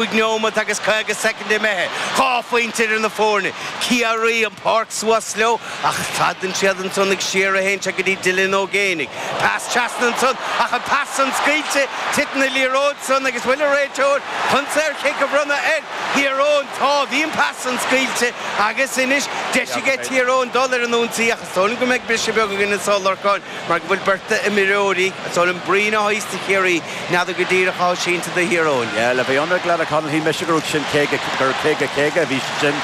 5 neomat agus 50 soicind imithe. 2 phointe idir na foirne. Ciarraí an pháirc suas leo ach stadann siad ansan ag siar a théann sé go dtí Dylan Ó Géibheannaigh. Pas trasna ansan ach an pas san scaoilte. Titeann an liathróid san agus bhfuil an réiteoir chun saorchic a bhronnadh ar Thír Eoghain? Tá. Bhí an pas san scaoilte agus anois deis aige Tír Eoghain dul ar an ionsaí ach is dóigh liom go mbeidh briseadh beag againn anso, a Lorcáin, mar go bhfuil beirt imreoirí, is dóigh liom Breen atá thíos do Chiarraí, N'fheadar go díreach atá sínte do Thír Eoghain. Yeah, le bheith ionraic leat a Chonaill, shíl mise go raibh sin 50, gur 50, 50 a bhí sin.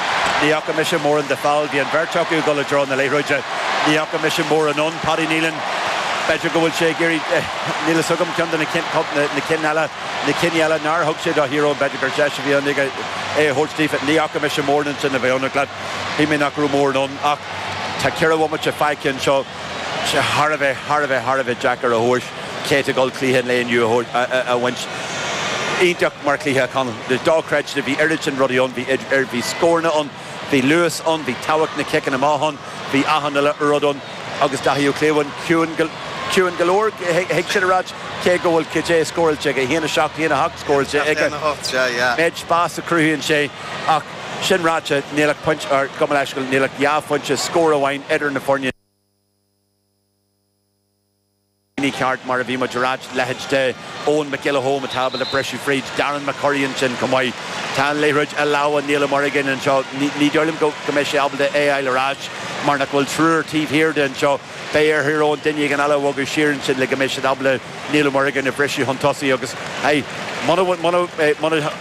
Ní fhaca mise mórán de foul, bhí an bheirt acu ag dul i dtreo na liathróide. Ní fhaca mise mórán ann. Paddy Nealon, b'fhéidir go bhfuil sé ag iarraidh, níl fhios agam, ceann de na cinn, na cinn eile, na cinn eile nár thug sé do Thír Eoghain, b'fhéidir gur deis a bhí ann aige é a thabhairt daofa. Ní fhaca mise mórán ansin le bheith ionraic leat. Shíl mé nach raibh mórán ann ach tá ceithre bhomaite fágtha anseo. sé thar a bheith, thar a bheith, thar a bheith deacair a thomhais cé atá ag dul cluiche an lae inniu a bhaint. Iontach mar chluiche, a Chonaill. Dochreidte, bhí oiread sin rudaí ann, bhí, bhí scóranna ann, bhí luas ann, bhí tábhacht na ciceanna amach ann, bhí achan uile rud ann agus Daithí Ó Cliabháin ciúin go, ciúin go leor, thig sin a ráit, cé go bhfuil cad é scóráilte aige, 1, 7, 1, 8 scóráilte aige. 1, 8, sea, yeah. Méid spás a chruthaíonn sé ach sin ráite, níl ach pointe, or gabh mo leithscéal, níl ach dhá phointe, scór amháin idir na foirne. Ní ceart, mar a bhí muid a ráit, leithéid de Eoin Mac Giolla Chóim atá ábalta briseadh fríd, Darren McCurry ansin chomh maith. Tá an liathróid i lámha Niall Ó Muireagáin anseo. Ní dóigh liom go mbeidh sé ábalta é a fháil ar ais mar nach bhfuil triúr taobh thiar de anseo. Beidh ar Thír Eoghain duine éigin eile a bhogadh siar ansin le go mbeidh siad ábalta Niall Ó Muireagáin a bhriseadh chun tosaigh agus, hey, muna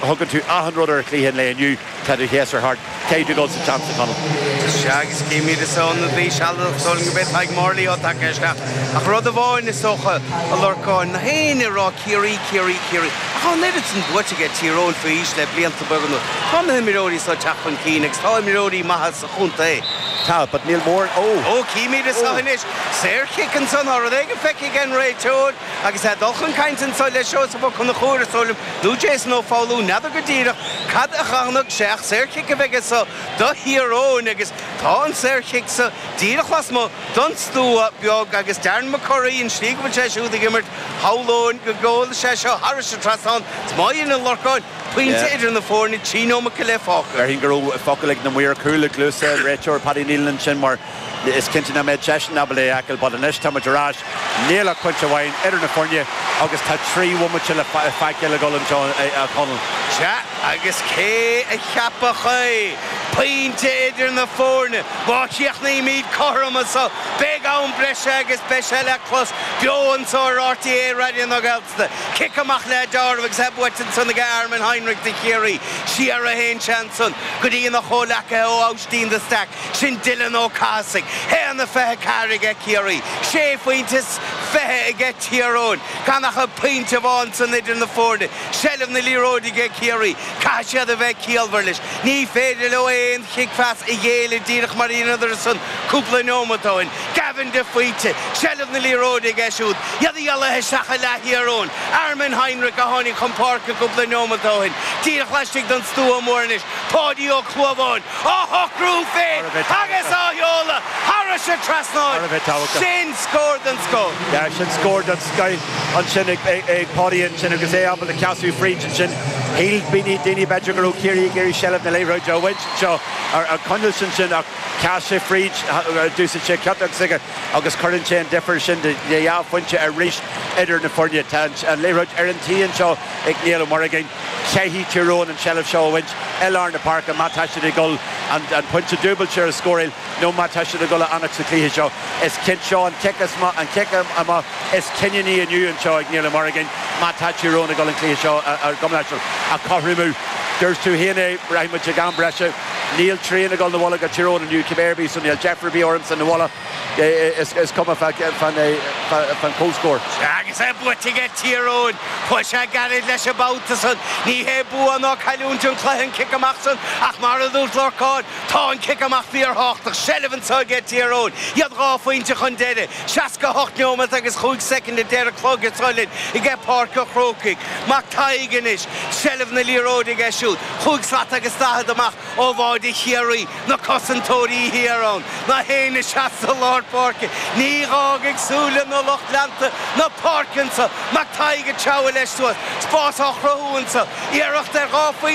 thugann tú achan rud ar chluiche an lae inniu, Tá do shéasúr thart. Caithfidh tú dul sa tseans, a Chonaill. Sea, agus címid is ionadaí sealadach is dóigh liom gurb é Tadhg Morley atá tagtha isteach. Ach rud amháin is dócha, a Lorcáin, nach éinne ag rá Ciarraí, Ciarraí, Ciarraí. Ach tá an oiread sin buaite aige Tír Eoghain faoi aois le blianta beaga anuas. Tá na himreoirí seo ag teacht chun cinn agus tá imreoirí maithe sa chontae. Tá, but níl mórán, ó! Ó, címid anseo anois. Saorchic ansan, tá rud éigin feicthe ag an réiteoir. Agus é ag dul chun cainte anso le Seosamh Ó Conchúir, is dóigh liom, nó Jason Ó Foghlú, n'fheadar go díreach cad a chonaic sé ach saorchic a bheidh anso do Thír Eoghain agus tá an saorchic so díreach lasmuigh don stua beag agus Darren McCurry, an slí go bhfuil sé siúd ag imirt, shamhlóinn go gabhfaidh sé seo thairis an trasnán is má dhéanann Lorcán pointe idir na foirne, 3 nóimeat go leith fágtha. Déarfainn go raibh focal ag na maoir cúil i gcluasa an réiteoir Paddy Nealon ansin mar Is cinnte nach mbeadh seisean ábalta é a fheiceáil but anois tá muid ar ais, níl ach pointe amháin idir na foirne agus tá 3 bhomaite le feiceáil le dhul anseo a Chonaill. Sea, agus cé a cheapfadh é? Pointe idir na foirne. Má chríochnaímid cothrom anso, beidh am breise agus beidh sé le clos beo anso ar RTÉ Raidió na Gaeltachta. Cic amach le deáramh agus é buaite ansan ag Armin Heinrich do Chiarraí. Siar a théann sé ansan go dtí ina chomhleacaithe ó Aibhistín de Staic. Sin Dylan Ó Cathasaigh. 1-24 aige Ciarraí. Sé phointe is 20 aige Tír Eoghain. Gan ach pointe amháin san idir na foirne. Seilbh na liathróide aige Ciarraí. Caithfidh siad a bheith ciallmhar leis. Ní féidir leo aon chic-phas a ghéilleadh díreach mar a dheineadar san cúpla neomat ó shin. Gavin de Faoite. Seilbh na liathróide aige siúd. Iad a isteach i leath Thír Eoghain. Armin Heinrich a tháinig chun páirce cúpla neomat ó shin. Díreach laistigh den stua mór anois. Páidí Ó Clúmháin. á shocrú féin agus á sheoladh thairis an trasnán. Sin scór den scoth. Yeah, sin scór den scoth ansin ag Páidí ansin agus é ábalta casadh fríd ansin. Shíl daoine b'fhéidir go raibh Ciarraí ag iarraidh seilbh na liathróide a bhaint anseo ar coinneáil ansin ach chas sé fríd, d'úsáid sé ciotóg s'aige agus cuireann sé an difear sin de dhá phointe arís idir na foirne. Tá an liathróid ar an tí anseo ag Niall Ó Muireagáin. Caithfidh Tír Eoghain an tseilbh seo a bhaint i lár na páirce má tá siad ag dul an pointe dúbailte a scóráil nó má tá siad ag dul a fhanacht sa chluiche seo. Is cinnte seo an cic is an cic amach is cinniúnaí inniu anseo ag Niall Ó Muireagáin má tá Tír Eoghain ag dul an cluiche seo a chothromú. Dúirt tú féin é, rachaidh muid ag am breise. Níl trian ag dul 'na bhaile go Tír Eoghain inniu cibé ar bith so níl deifir ar bith ormsa 'na bhaile. Is cuma fán chomhscór. Agus é buaite aige Tír Eoghain. Chuaigh sé gairid leis an mbabhta san. Ní hé bua ná cailliúint an cluiche an cic amach san ach mar a dúirt Lorcán, tá an cic amach fíorthábhachtach. Seilbh anseo aige Tír Eoghain. Iad 2 phointe chun deiridh. 68 neomat agus 5 soicind a deir an clog anseo linn aige Páirc an Chrócaigh. Mac Tadhg anois. Seilbh na liathróide aige siúd. Chúig slat agus daichead amach ó bháide Chiarraí. Na cosantóirí thiar ann. Nach éinne seasta lár. páirce. Ní dh'fhágfaidh súile na lucht leanta na páirce anso. Mac Tadhg ag treabhadh leis suas. Spás á chruthú anso. Iarracht ar